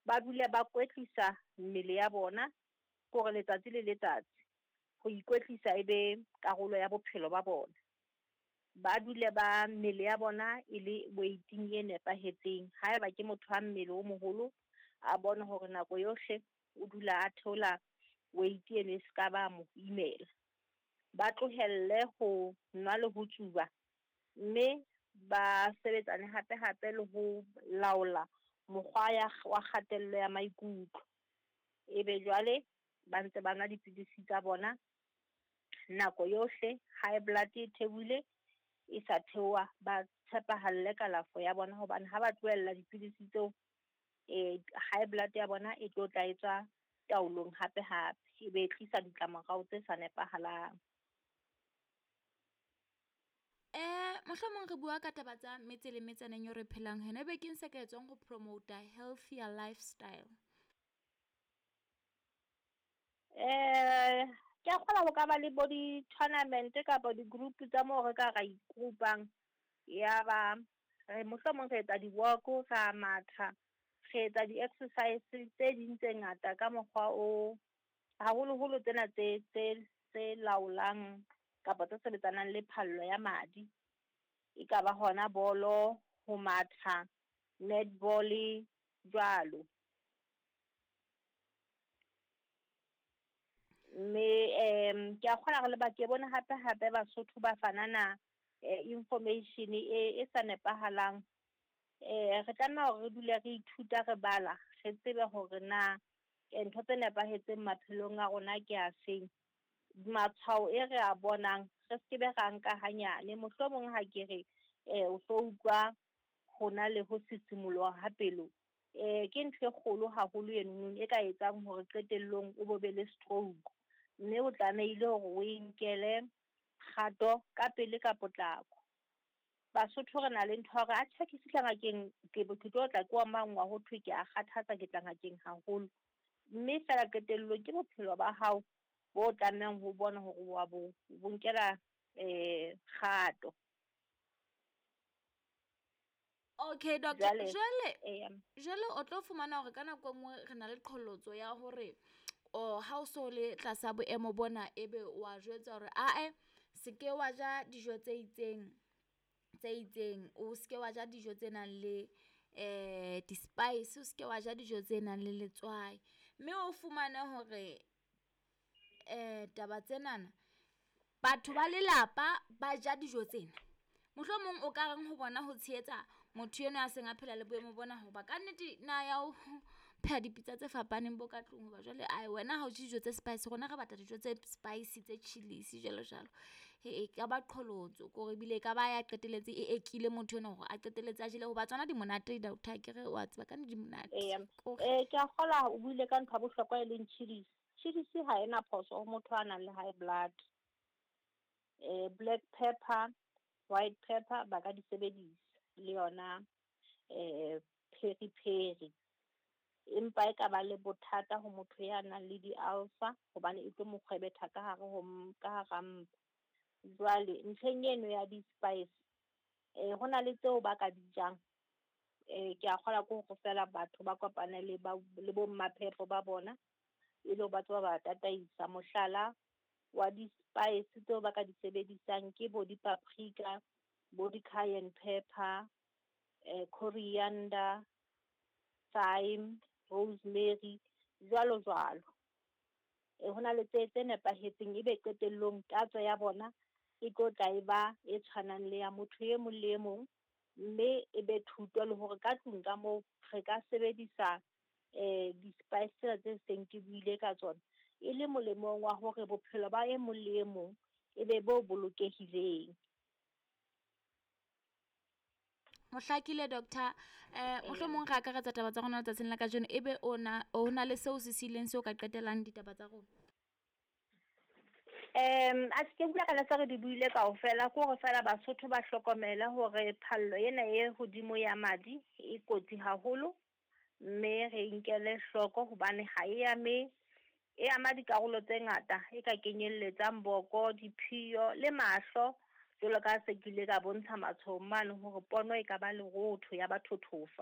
Ba dule ba kwetlisa mmele ya bona, ke hore letsatsi le letsatsi ho ikwetlisa e be karolo ya bophelo ba bona. Ba dule ba mmele ya bona e le weight-ing e nepahetseng. Haeba ke motho wa mmele o moholo, a bone hore nako yohle o dula a theola weight eno e seka ba mo imela. Ba tlohelle ho nwa le ho tsuba, mme ba sebetsane hape hape le ho laola mokgwa ya wa kgatello ya maikutlo. Ebe jwale ba ntse ba nwa dipidisi tsa bona nako yohle. High blood e theohile e sa theoha, ba tshepahalle kalafo ya bona hobane ha ba tlohella dipidisi tseo, high blood ya bona e tlo tla etswa taolong hape hape, e be e tlisa ditlamorao tse sa nepahalang. Mohlomong re bua ka taba tsa metse le metsaneng eo re phelang ho yona. Ebe keng se ka etswang ho promota healthier lifestyle? Ke a kgolwa ho ka ba le bo di-tournament kapa di-group tsa moo re ka ra i-group-ang. Ya ba re mohlomong re etsa di-walk, ra matha, re etsa di-exercise tse ding tse ngata ka mokgwa o haholoholo tsena tse tse tse laolang kapa tse sebetsanang le phallo ya madi. E ka ba hona bolo, ho matha, netball jwalo. Mme ke a kgolwa hore le ba ke bone hape hape Basotho ba fanana information e sa nepahalang. Re tlameha hore re dule re ithuta re bala, re tsebe hore na ntho tse nepahetseng maphelong a rona ke a feng. Matshwao e re a bonang, re skebe ra nka hanyane. Mohlomong ha ke re o so utlwa hona le ho sisimoloha ha pelo, ke ntho e kgolo haholo eno e ka etsang hore qetellong o bo be le stroke. Mme o tlamehile hore o e nkele kgato ka pele ka potlako. Basotho re na le ntho ya hore atjhe ha ke fihla ngakeng ke ke tlo tla ke omangwa ho thwe ke a kgathatsa, ke tla ngakeng haholo. Mme fela qetellong ke bophelo ba hao bo tlamehang ho bona hore wa bo bo nkela kgato. Okay doctor, jwale jwale o tlo fumana hore ka nako e nngwe re na le qholotso ya hore o ha o so le tlasa boemo bona, ebe wa jwetsa hore ae se ke wa ja dijo tse itseng tse itseng, o se ke wa ja dijo tse nang le di-spice, o se ke wa ja dijo tse nang le letswai. Mme o fumane hore taba tsenana batho ba lelapa ba ja dijo tsena. Mohlomong o ka reng ho bona ho tshehetsa motho enwa a seng a phela le boemo bona, hoba ka nnete na ya ho pheha dipitsa tse fapaneng bo ka tlung. Hoba jwale ae wena ha o je dijo tse spice, rona re batla dijo tse spice tse chillis jwalo jwalo. E ka ba qholotso kore ebile e ka ba ya qetelletse e ekile motho enwa hore a qetelletse a jele hoba tsona di monate doctor akere wa tseba ka di monate. Eya. Ke a kgola o buile ka ntho ya bohlokwa e leng chillis. Chillis ha ena phoso ho motho a nang le high blood. Black pepper, white pepper ba ka di sebedisa le yona peri peri. Empa e ka ba le bothata ho motho ya nang le di-ulcer hobane e tlo mo kgwebetha ka hare ho ka hara mpa. Jwale ntlheng eno ya di-spice, hona le tseo ba ka di jang. Ke a kgolwa ke hore fela batho ba kopane le ba le bo mmaphepo ba bona, e le hore ba tseba ba tataisa. Mohlala wa di-spice tseo ba ka di sebedisang ke bo di-paprika, bo di-cayenne pepper, coriander, thyme, rosemary, jwalo jwalo. Hona le tse tse nepahetseng ebe qetellong tatso ya bona e tlo tla e ba e tshwanang le ya motho e mong le e mong, mme e be thuto le hore ka tlung ka moo re ka sebedisa di-spice tsena tse seng ke buile ka tsona, e le molemong wa hore bophelo ba e mong le e mong e be bo bolokehileng. Ho hlakile doctor. Mohlomong re akaretsa taba tsa rona letsatsing la kajeno, ebe o na o na le seo se sileng seo ka qetellang ditaba tsa rona. A ke bua ka se re di buile kaofela, ke hore fela Basotho ba hlokomele hore phallo ena e hodimo ya madi e kotsi haholo, mme re nkele hloko hobane ha e ame, e ama dikarolo tse ngata e ka kenyelletsang boko, diphiyo le mahlo. Jwalo ka se ke ile ka bontsha matshwao mane hore pono e ka ba lerotho ya ba thothofa.